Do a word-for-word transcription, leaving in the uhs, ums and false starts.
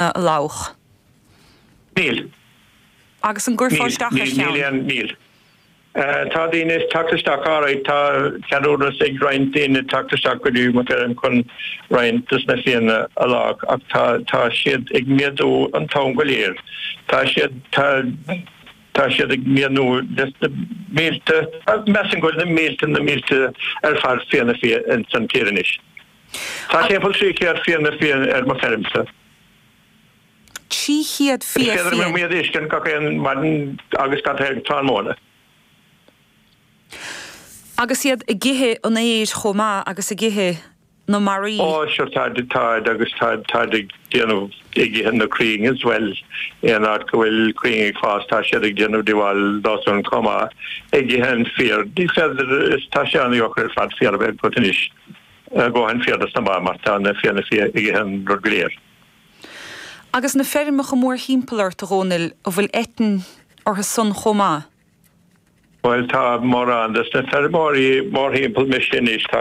a lách? Níl. Agus an gcuirfeá isteach ar cheann? Níl. Tá daoine ag teacht isteach alright, tá ceadúnas ag roinnt daoine teacht isteach go dtí mo fheirm chun roinnt dos na fianna a lách ach tá tá siad ag méadú an t-am go léir. Tá siad tá tá siad ag méadú leis na mílte, measaim go bhfuil na mílte na mílte ar fad fianna fia ins an tír anois. Tá timpeall trí chéad fianna fia ar mo feirmse. Trí chéad fia fiann? Is féidir liom iad a fheiscint gach aon maidin agus gach aon tráthnóna. Agus iad ag ithe an fhéir chomh maith agus ag ithe na mbarraí. Ó sure táid, táid agus táid, táid ag déanamh, ag ithe na crainn as well. Aon áit go bhfuil crainn ag fás tá siad ag déanamh díobháil dósan chomh maith, ag ithe an féar. Ní féidir, is tá sé an-deacair ar fad féar a bheith agat anois, dóthain féir dos na ba mar tá na fianna fia ag ithe an rud go léir. Agus na feirmeacha mórthimpeall ort, a Dhónaill, an bhfuil eitinn orthu san chomh maith? Bhuel tá mórán dos na feirmeoirí mórthimpeall mise anois, tá